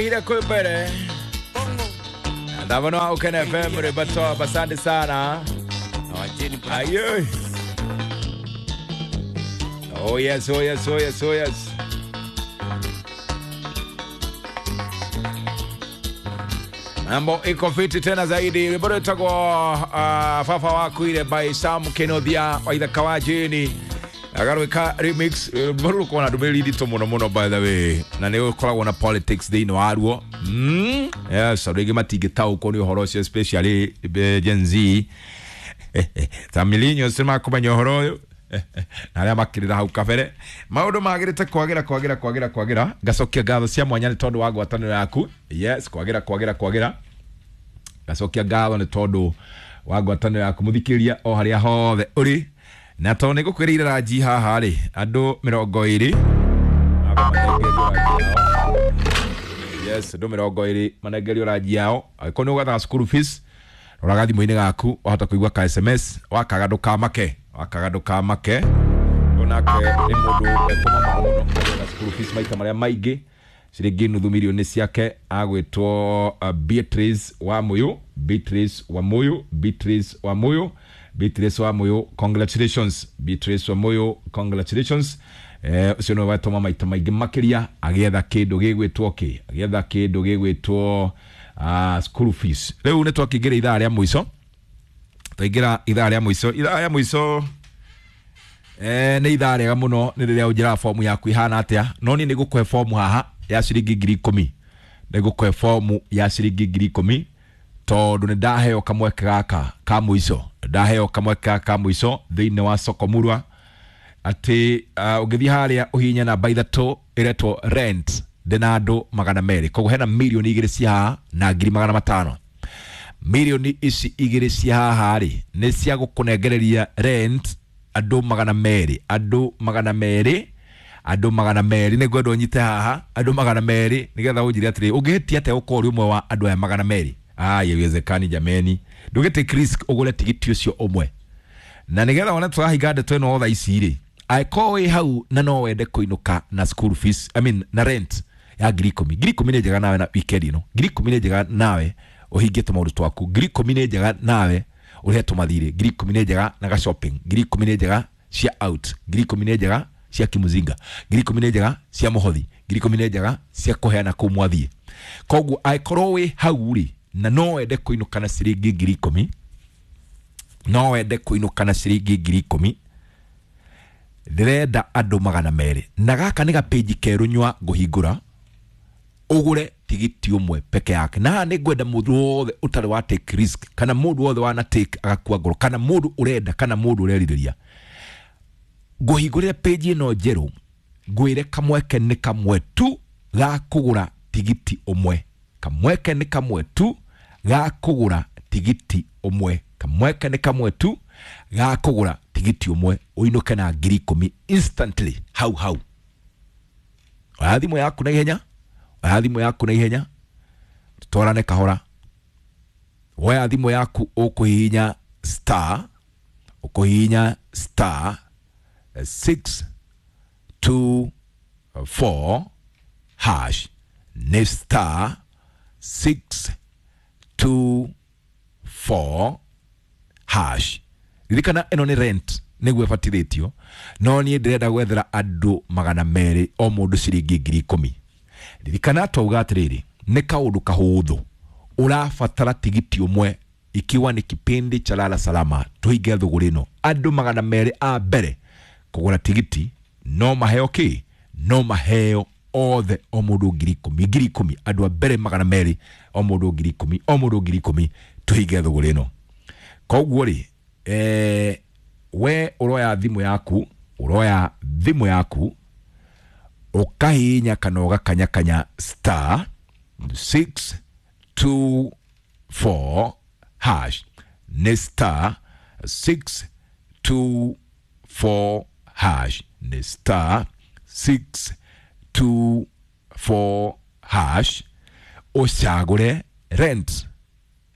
Ile kwembere Ndavano Ukene FM Ribatoa, asante sana. Ayo. Oh yes, oh yes, oh yes, oh yes. Mambo iko fiti tena zaidi. Bado itakuwa fafa wako ile by Sam Kenodia wa Ithaka wa Jeni. Agarwika remix bado uko na ndumĩrĩri nditũ mũno mũno by the way, na nĩ ũkoragwo na politics thĩinĩ waruo. Yes, andũ aingĩ matingĩtaũkwo nĩ ũhoro ũcio, especially Gen Z ta millennials nĩ makũmenya ũhoro ũyũ na arĩa makĩrĩra hau kabere. Maũndũ magĩrĩte kwagĩra kwagĩra kwagĩra kwagĩra. Ngacokia ngatho cia mwanya nĩ tondũ wa ngwatanĩro yaku. Yes, kwagĩra kwagĩra kwagĩra. Ngacokia ngatho nĩ tondũ wa ngwatanĩro yaku mũthikĩrĩria o harĩa hothe ũrĩ. Na tondũ nĩ ngũkwĩrĩire ranji haha rĩ, andũ 20 yes, andũ 20 manengerio ranji yao. Angĩkorwo nĩ ũgwethaga school fees, roraga thimũ-inĩ gaku, wahota kũigua ka SMS, wakaga ndũkamake, wakaga ndũkamake. Onake nĩ mũndũ ekũmama mũno agĩetha school fees maita marĩa maingĩ, ciringi nuthu mirioni ciake. Agwĩtwo Beatrice Wamuyu, Beatrice Wamuyu, Beatrice Wamuyu, Beatrice Wamuyu, congratulations Beatrice Wamuyu, congratulations. Ũcio nĩwe wetũma maita maingĩ makĩria agĩetha kĩndũ gĩgwĩtwo kĩ, agĩetha kĩndũ gĩgwĩtwo school fees. Rĩu nĩ twakĩingĩra ithaa rĩa mũico, twaingĩra ithaa rĩa mũico, ithaa rĩa mũico nĩ ithaa rĩega mũno nĩ rĩrĩa ũnjĩraga fomu yaku ihana atĩa. No niĩ nĩ ngũkũhe fomu haha ya ciringi 10,000, nĩ ngũkũhe fomu ya ciringi 10,000 tondũ nĩ ndaheo kamweke gaka ka mũico, ndaheo kamweke gaka ka mũico thĩinĩ wa soko murwa atĩ ũngĩthiĩ harĩa ũhihinye namba 3 ĩretwo rent, ndĩna andũ 200, koguo hena 2 mirioni cia haha na 500,000. Mirioni ici 2 cia haha rĩ nĩ cia gũkũnengereria rent andũ 200, andũ 200, andũ 200. Nĩ ngwenda ũnyite haha andũ 200 nĩgetha ũnjĩre atĩrĩ, ũngĩhĩtia atĩa ũkorwo ũrĩ ũmwe wa andũ aya 200? Haiwezekani jameni, ndũgĩ take risk ũgũre tigiti ũcio ũmwe. Na nĩgetha wone tũrahinga ndeto ĩno thaa ici rĩ, angĩkorwo wĩ hau na no wende kũinũka na school fees, I mean, na rent ya 10,000, 10,000 nĩ njega nawe na weekend ĩno, 10,000 nĩ njega nawe ũhingie tũmaũndũ twaku, 10,000 nĩ njega nawe ũrĩhe tũmathirĩ, 10,000 nĩ njega na ga shopping, 10,000 nĩ njega cia out, 10,000 nĩ njega cia kimuzinga, 10,000 nĩ njega cia mũhothi, 10,000 nĩ njega cia kũheana kũu mwathiĩ. Koguo angĩkorwo wĩ hau rĩ na no wende kũinũka na ciringi 10,000, no wende kũinũka na ciringi 10,000, ndĩrenda andũ 200. Na gaka nĩ gapĩnji kerũ nyua ngũhingũra ũgũre tigiti ũmwe peke yake. Na haha nĩ ngwenda mũndũ wothe ũtarĩ wa take risk, kana mũndũ wothe wana take agakua ngoro, kana mũndũ ũrenda, kana mũndũ ũrerirĩria, ngũhingũrĩre page ĩno njerũ, ngwĩre kamweke nĩ kamwe tu ga kũgũra tigiti ũmwe, kamweke nĩ kamwe tu ga kũgũra tigiti ũmwe, kamweke nĩ kamwe tu ga kũgũra tigiti ũmwe ũinũke na 10,000 instantly hau hau. Oya thimũ yaku na ihenya, oya thimũ yaku na ihenya, tũtwarane kahora. Woya thimũ yaku ũkũhihinya star, ũkũhihinya star 6 2 4 hash, nĩ star 6 2 4 hash. Ririkana ĩno nĩ rent nĩguo ĩbatithĩtio, no niĩ ndĩrenda gwethera andũ 200 o mũndũ ciringi 10,000. Ririkana twauga atĩrĩrĩ, nĩ kaũndũ kahũthũ, ũrabatara tigiti ũmwe ikiwa ni kipindi cha lala salama. Tuhinge thũgũrĩ ĩno, andũ 200 a mbere kũgũra tigiti no maheo kĩ, no maheo othe o mũndũ 10,000, 10,000. Andũ a mbere 200 o mũndũ 10,000, o mũndũ 10,000. Tuhinge thũgũrĩ ĩno. Koguo rĩ, we ũroya thimũ yaku, ũroya thimũ yaku ũkahihinya kana ũgakanyakanya star 6 2 4 hash, nĩ star 6 2 4 hash, nĩ star 6 2 4 hash, ũcagũre rent.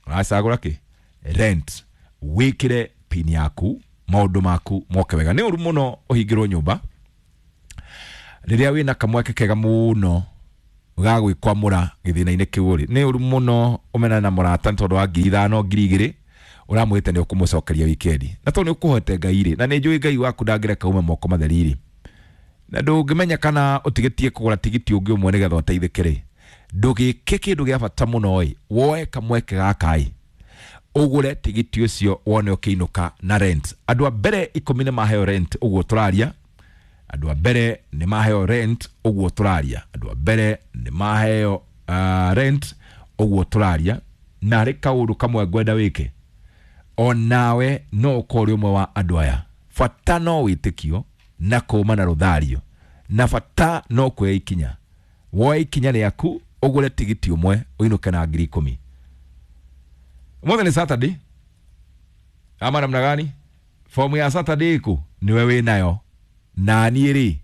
Ũracagũra kĩ? Rent. Wĩkĩre pin yaku, maũndũ maku moke wega. Nĩ ũru mũno ũhingĩrwo nyũmba rĩrĩa wĩna kamweke kega mũno. Ga gwĩkwamũra gĩthĩna-inĩ kĩu rĩ, nĩ ũru mũno ũmenane na mũrata nĩ tondũ wa 5,000 2,000 ũramwĩte nĩ ũkũmũcokeria wikendi, na tondũ nĩ ũkũhoete Ngai rĩ, na nĩ njũĩ Ngai waku ndangĩreka ume moko matheri rĩ, na ndũngĩmenya kana ũtigĩtie kũgũra tigiti ũngĩ ũmwe nĩgetha ũteithĩke rĩ, ndũgĩke kĩndũ gĩa bata mũno ĩ, woe kamweke gaka ĩ, ũgũre tigiti ũcio wone ũkĩinũka na rent. Andũ a mbere 10 nĩ maheo rent ũguo tũraria, andũ a mbere nĩ maheo rent ũguo tũraria, andũ a mbere nĩ maheo rent ũguo tũraria. Na harĩ kaũndũ kamwe ngwenda wĩke, onawe no ũkorwo ũrĩ ũmwe wa andũ aya. Bata no wĩtĩkio na kũma na rũthario, na bata no kuoya ikinya. Woe ikinya rĩaku ũgũre tigiti ũmwe ũinũke na 10,000. Ũmũthĩ nĩ Saturday ama namna gani? Fomu ya Saturday ĩkũ? Nĩwe wĩnayo, na niĩ rĩ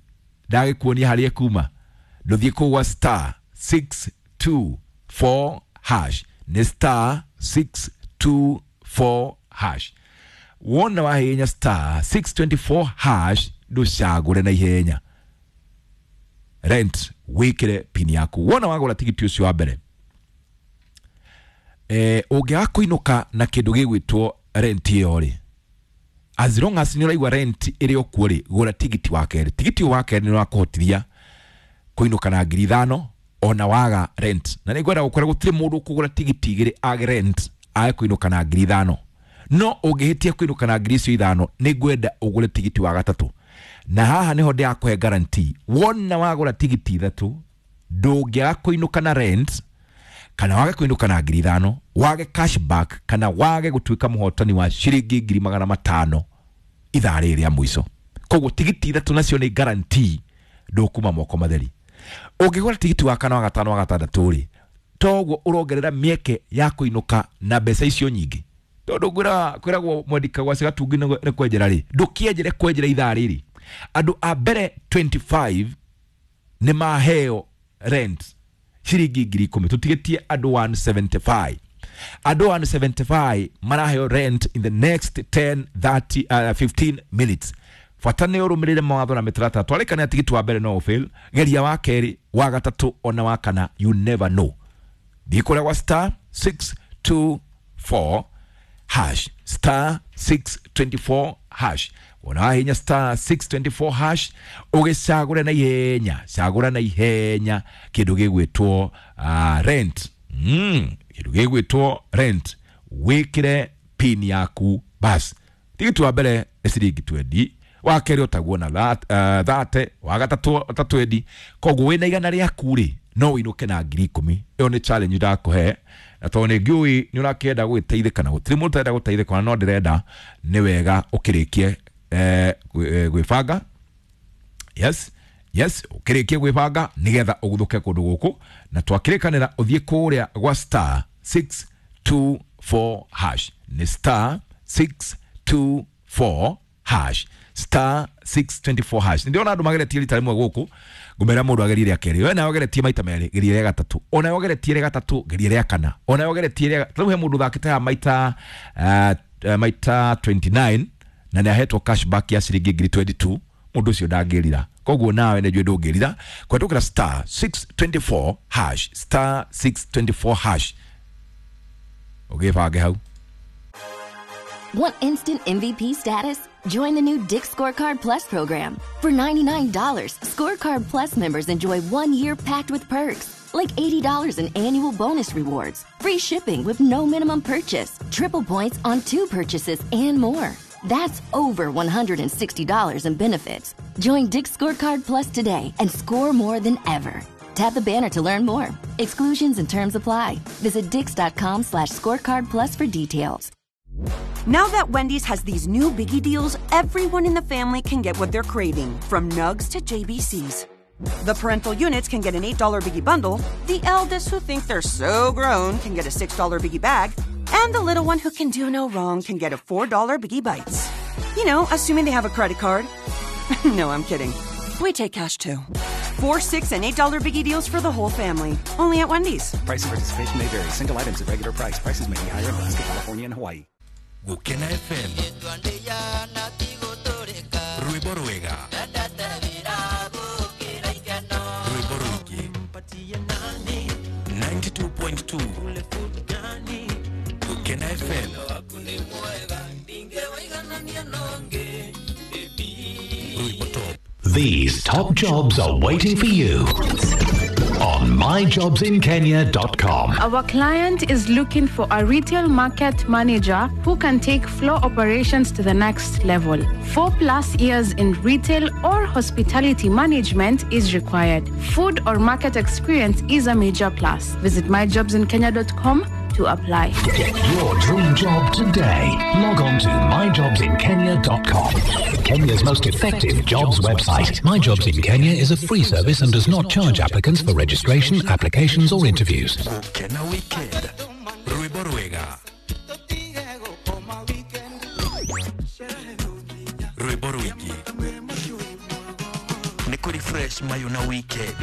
ndagĩkuonia harĩa ĩkuma. Ndũthiĩ kũu gwa star 624 hash, nĩ star 624 hash. Wona wahenya star 624 hash, ndũcagũre na ihenya rent, wĩkĩre pin yaku. Wona wagũra tigiti ũcio wa mbere, ũngĩaga kũinũka na kĩndũ gĩgwĩtwo rent ĩyo rĩ, as long as nĩ ũraigua rent ĩrĩ o kuo rĩ, gũra tigiti wa kerĩ. Tigiti ũyũ wa kerĩ nĩ ũrakũhotithia kũinũka na 5,000 ona waga rent. Na nĩ ngwenda gũkwĩra gũtirĩ mũndũ ũkũgũra tigiti igĩrĩ age rent age kũinũka na 5,000. No ũngĩhĩtia kũinũka na 5,000, nĩ ngwenda ũgũre tigiti wa gatatũ, na haha nĩho ndĩrakũhe guarantee. Wona wagũra tigiti ithatũ, ndũngĩaga kũinũka na rent kana wage kũinũka na 5,000, wage cashback, kana wage gũtuĩka mũhotani wa ciringi 500,000 ithaa rĩrĩ rĩa mũico. Koguo tigiti ithatũ nacio nĩ guarantee ndũkuma moko matheri. Ũngĩgũra tigiti wa kana, wa gatano, wa gatandatũ rĩ, toguo ũrongerera mĩeke ya kũinũka na mbeca icio nyingĩ, tondũ kwĩragwo mwendika gwa cigatungi nĩ kwenjera rĩ, ndũkĩenjere kwenjera ithaa rĩrĩ. Andũ a mbere 25 nĩ maheo rent ciringi 10,000, tũtigĩtie andũ 175. Andũ 175 maraheo rent in the next 10 30 15 minutes. Bata nĩ ũrũmĩrĩre mawatho na mĩtaratara. Twarĩkania tigiti wa mbere no ũfail, geria wa kerĩ, wa gatatũ, ona wa kana, you never know. Thiĩ kũrĩa gwa star 624 hash, star 624 hash. Wona wahinya star 624 hash, ũgĩcagũre na ihenya, cagũra na ihenya kĩndũ gĩgwĩtwo rent, kĩndũ gĩgwĩtwo rent, wĩkĩre pin yaku bas. Tigiti wa mbere nĩ ciringi 20, wa kerĩ ũtaguo na 30, wa gatatũ ta 20. Koguo wĩna 100 rĩaku rĩ, no ũinũke na 10,000. Ĩyo nĩ challenge ndakũhe, na tondũ nĩ ngĩũĩ nĩ ũrakĩenda gwĩteithĩka, na gũtirĩ mũndũ ũtarenda gũteithĩka, na no ndĩrenda nĩ wega ũkĩrĩkie gwĩbanga. Yes, yes, ũkĩrĩkie gwĩbanga nĩgetha ũguthũke kũndũ gũkũ. Na twakĩrĩkanĩra ũthiĩ kũrĩa gwa star 624 hash, nĩ star 624 hash, star 624 hash. Ndĩrona andũ mageretie rita rĩmwe gũkũ, ngũmera mũndũ agerie rĩa kerĩ, we nawe ũgeretie maita merĩ, geria rĩa gatatũ, ona ũgeretie rĩa gatatũ, geria rĩa kana, ona ũgeretie rĩa rĩu. He mũndũ ũthakĩte haha maita maita 29 na nĩ ahetwo cashback ya ciringi 22,000. Mũndũ ũcio ndangĩrira, koguo nawe nĩ njũĩ ndũngĩrira kũhetũkĩra star 624 hash, star 624 hash, ũgĩbange hau. Want instant MVP status? Join the new Dick's Scorecard Plus program. For $99, Scorecard Plus members enjoy 1 year packed with perks, like $80 in annual bonus rewards, free shipping with no minimum purchase, triple points on two purchases, and more. That's over $160 in benefits. Join Dick's Scorecard Plus today and score more than ever. Tap the banner to learn more. Exclusions and terms apply. Visit dicks.com/scorecard plus for details. Now that Wendy's has these new biggie deals, everyone in the family can get what they're craving, from nugs to JBCs. The parental units can get an $8 biggie bundle, the eldest who think they're so grown can get a $6 biggie bag, and the little one who can do no wrong can get a $4 biggie bites. Assuming they have a credit card. No, I'm kidding. We take cash too. $4, $6, and $8 biggie deals for the whole family. Only at Wendy's. Price and participation may vary. Single items at regular price. Prices may be higher in Alaska, California, and Hawaii. Gukena FM, rwĩmbo rwega, rwĩmbo rũingĩ. 102.2 Gukena FM. Rwimbo Top. These top jobs are waiting for you on myjobsinkenya.com. Our client is looking for a retail market manager who can take floor operations to the next level. 4+ years in retail or hospitality management is required. Food or market experience is a major plus. Visit myjobsinkenya.com to apply. Get your dream job today. Log on to myjobsinkenya.com. Kenya's most effective jobs website. My Jobs in Kenya is a free service and does not charge applicants for registration, applications, or interviews. Gukena Weekend. Rwimbo rwega, rwimbo rwingi nĩ kũrĩ fresh mayo na weekend.